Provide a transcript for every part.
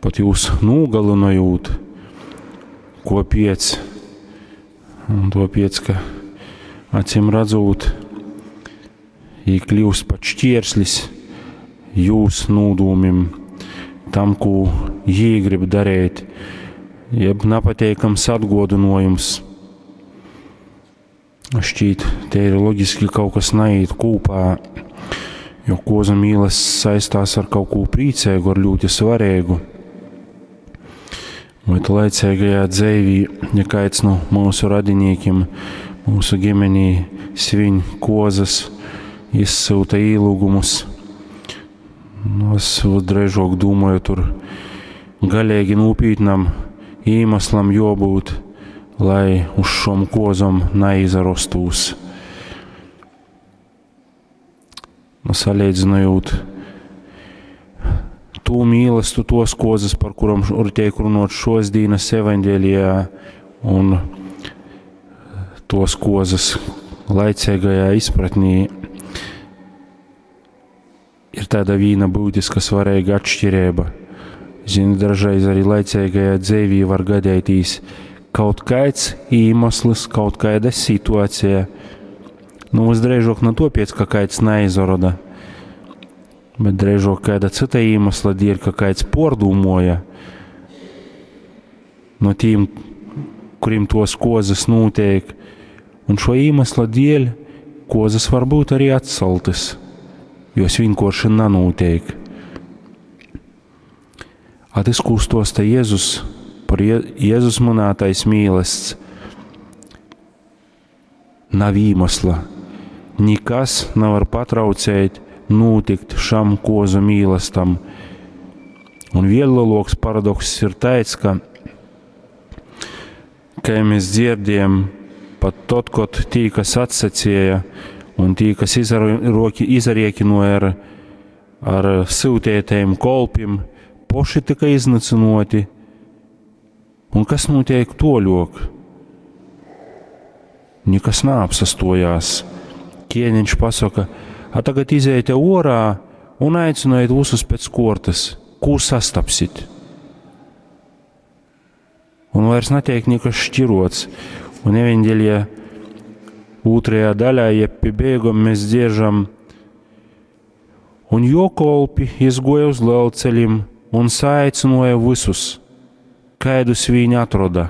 Pat jūs nūgalynojūt, kuopiec? Un tuopiec, ka acim radzūt, jī kļiust pat šķierslis jūs nūdūmim, tam, kū jī grib dareit, jeb napateikams atguodynuojums. Šķīt, te ir loģiski kaut kas naīt kūpā, jo kozu mīlasts saistās ar kaut ko priecīgu, ar ļoti svarīgu. Vai laicīgajā dzīvī, ja kāds no mūsu radinikiem, mūsu ģimenī svin kozas, izsūta īlūgumus, nu, es drēžok domāju, tur galīgi nopietnam iemeslam jābūt, lai uz šom kozom naizarostūs. Nu, salīdzinot tū mīlestu, tos kozas, par kurom tiek runot šos dienas evaņģēlijā, un tos kozas laicīgajā izpratnī, ir tāda vīna būtiska svarīga atšķirība. Zini, dažreiz arī laicīgajā dzīvī var gadētīs kaut kāds iemesls, kaut kāda situācija. Nu, visdrīzāk ne tāpēc, ka kāds neizroda, bet drīzāk kāda cita iemesla dēļ, ka kāds pārdomāja no tiem, kuriem tos kozas notiek. Un šo iemesla dēļ kozas var būt arī atceltas, jo es vienkārši nenotiek. A tas, ko stosta Jēzus, par Jēzus minētais mīlests, nav iemesla. Nekas nevar patraucēt notikt šam kozu mīlestam. Un vēl lielāks paradoks ir tāds, ka, kā mēs dzirdējam, pat tad, kad tī, kas atsacīja un tī, kas izariekinoja ar sūtētajiem kolpim, poši tika iznīcinoti. Un kas notiek toļok? Nekas neapsastojās. Ķēniņš pasaka, a tagad iziet orā un aiciniet visus pēc kortas, ko sastapsit. Un vairs netiek nekas šķirots. Un evaņģēlijā otrajā daļā, jeb pie beigām mēs dziežam, un jo kolpi izgoja uz lielceļiem un saicināja visus, kaidus viņi atroda,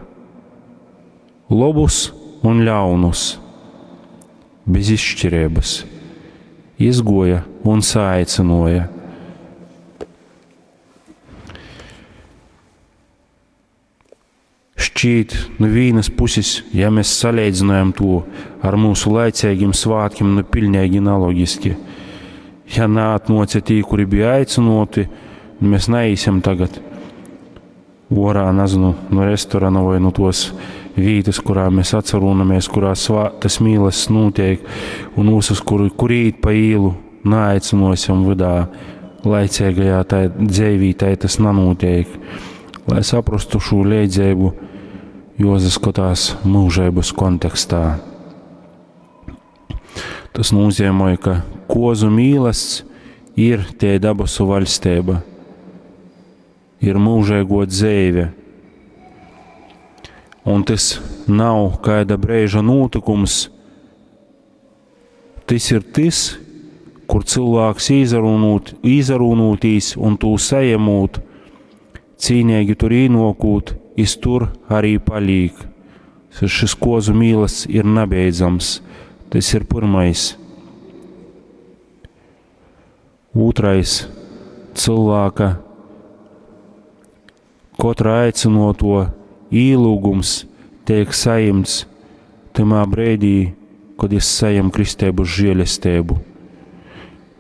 labus un ļaunus, bez izšķirības, izgoja un saicināja. Šķiet, no vienas puses, ja mēs salīdzinājam to ar mūsu laicīgiem svētkiem, nu pilnīgi analogiski. Ja neatnoca tī, kuri bija aicinoti, nu mēs neiesim tagad orā, nezinu, no restorāna vai no tos vietas, kurā mēs atcerūnamies, kurā tas mīlests notiek, un visus, kur, kur īt pa īlu, neaicinosim vidā, laicīgajā tai dzīvī tai tas nenotiek. Lai saprastu šo līdzību, jāsaskatās mūžības kontekstā. Tas nozīmē, ka kozu mīlests ir tie dabasu vaļstība, ir mūžīgo dzīve. Un tas nav kāda brīža notikums, tas ir tas, kur cilvēks izarunotīs un tū sajemūt, cīnīgi tur īnokūt, iz tur arī palīk. Šis kozu mīlests ir nebeidzams. Tas ir pirmais. Otrais - cilvēka katra aicinoto īlūgums tiek saimts tamā brīdī, kad es saņemu kristēbu žēlestību.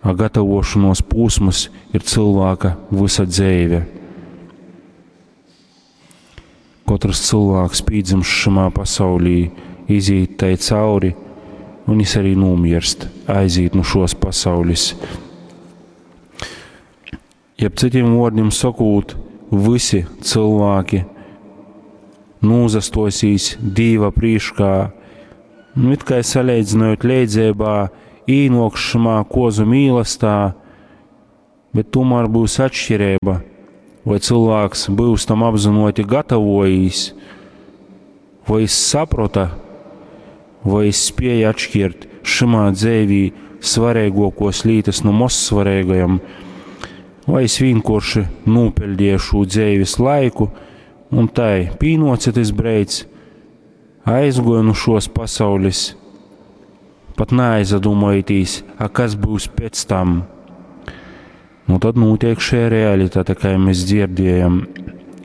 A gatavošanos posms ir cilvēka visa dzīve. Katrs cilvēks pīdzimst šamā pasaulī, iziet tai cauri, un es arī nomirst, aiziet no šos pasaules. Jeb citiem vārdiem sakot, visi cilvēki nūzastosīs Dīva prīškā, nu it kā salīdzinot leidzībā, īnokšamā kozu mīlestā, bet tomēr būs atšķirība. Voi cylvāks byus tam apzynuoti gatavojīs, voi jis saprota, voi jis spēja atškirt šymā dzeivī svareiguokuos lītys nu mozsvareigajom, vai jis vīnkuorši nūpeļdēja šū dzeivis laiku, un tai pīnuoce tys breids, aizguoja nu šuos pasaulis, pat naaizadūmojitīs, a kas byus pēc tam. Nu, tad nūtiek šī realitate, kā mēs dzirdējam.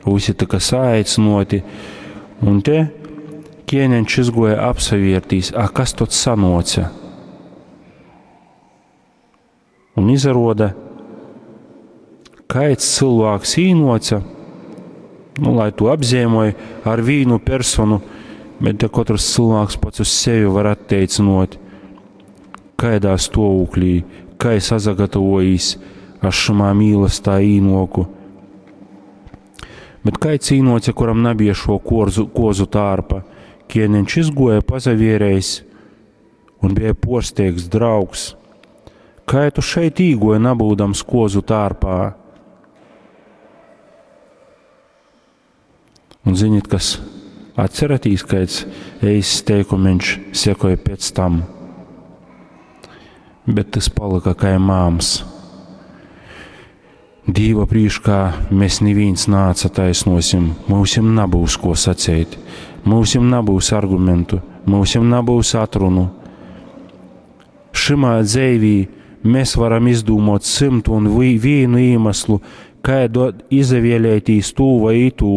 Visi tika saaicinoti, un te ķēniņš izgoja apsavērtīs, a kas tad sanoca? Un izaroda, kaids cilvēks īnoca, nu, lai to apzīmoja ar vīnu personu, bet te katrs cilvēks pats uz sevi var atteicinot, kaidā stāvoklī, kā es sagatavojis ar šamā mīlestā īnoku. Bet kaids īnoca, kuram nebija šo korzu, kozu tārpa, ķēniņš izgoja pazavierējis un bija porsteigts draugs. Kā tu šeit īgoji, nabūdams kozu tārpā? Un ziniet, kas atceratīs, kāds eists teikumiņš sekoja pēc tam. Bet tas palika kā māms. Dīva prīškā mēs neviens nāca taisnosim, mūsim nabūs ko sacīt, mūsim nabūs argumentu, mūsim nabūs atrunu. Šimā dzēvī mēs varam izdūmot 101 iemeslu, kā izavēlētīs tū vai itū,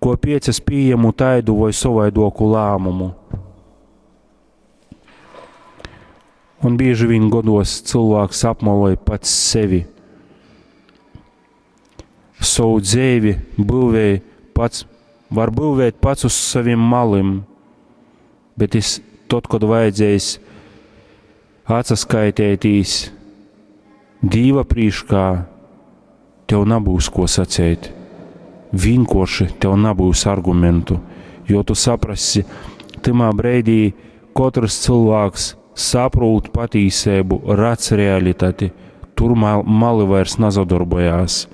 ko piec es pieņemu taidu vai savaidoku lēmumu. Un bieži vien godos cilvēks apmaloja pats sevi. Savu dzīvi būvēja pats, var būvēt pats uz saviem malim, bet es tad, kad vajadzējis atsaskaitētīs Dīva prīškā, tev nebūs ko sacīt. Vienkārši tev nebūs argumentu, jo tu saprasi, timā breidī katrs cilvēks saprūt patīsību, redz realitāti, tur mali vairs nazadarbojās.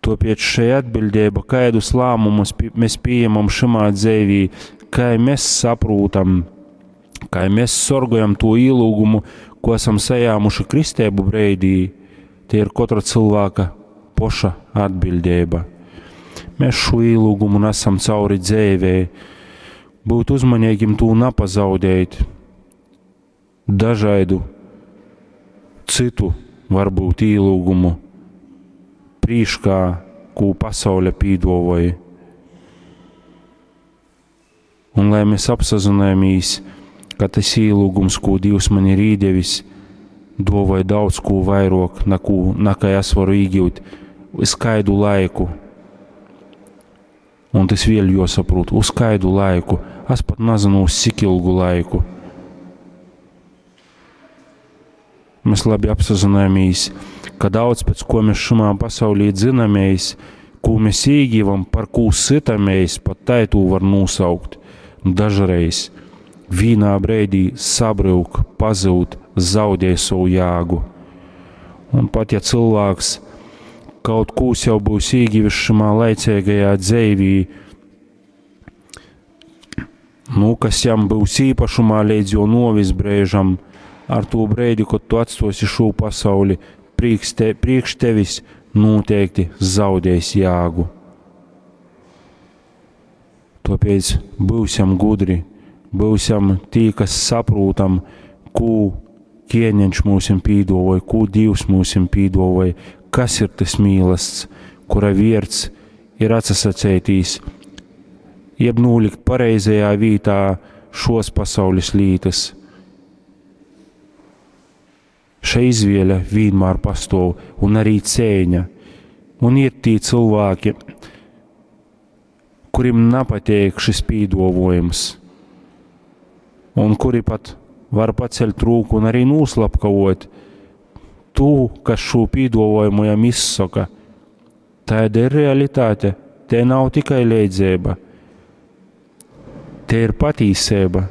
Tāpēc šai atbildība, kādus lēmumus mēs pieņemam šimā dzīvī, kā mēs saprotam, kā mēs sorgojam to ielūgumu, ko esam sajāmuši kristēbu breidī, tie ir katra cilvēka poša atbildība. Mēs šo ielūgumu nesam cauri dzīvē, būt uzmanīgiem to nepazaudēt. Dažādu citu varbūt ielūgumu prīškā, ko pasaule pīdovoja. Un lai mēs apsazināmies, ka tas ielūgums, ko Dievs man ir īdevis, dovoja daudz ko vairāk, nekā es varu iegūt uz kaidu laiku. Un tas vēl jāsaprot, uz kaidu laiku. Es pat nezinu, uz cik ilgu laiku. Mēs labi apsazināmies, ka daudz pēc ko mēs šumā pasaulī dzinamies, ko mēs iegivam, par ko sitamies, pat tai to var nosaukt. Dažreiz vīnā breidī sabryuk, pazūd, zaudē savu jēgu. Un pat ja cilvēks kaut ko jau būs iegivis šimā laicīgajā dzīvī, nu, kas jam būs īpašumā līdz jo novis brēžam, ar to breidi, kad tu atstosi šo pasauli, priekš tevis noteikti zaudēs jēgu. Tāpēc būsim gudri, būsim tī, kas saprotam, ko ķēniņš mūsim pīdovoja, ko Dievs mūsim pīdovoja, kas ir tas mīlests, kura vierts ir atsasacētīs, jeb nolikt pareizajā vītā šos pasaules lītas. Šai izvēle vienmēr pastāv, un arī cēņa. Un ir tī cilvēki, kuriem nepatīk šis pīdovojums, un kuri pat var paceļt rūku un arī noslapkavot tu, kas šo pīdovojumu jam izsaka. Tāda ir realitāte. Te nav tikai leidzēba. Te ir patīsība.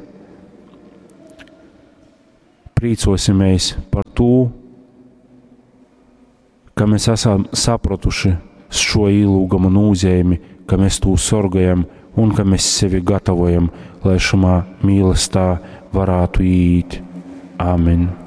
Priecosimies par to, ka mēs esam sapratuši šo īlūguma nūzeimi, ka mēs tū sorgojam un ka mēs sevi gatavojam, lai šamā mīlestā varētu iet. Āmen!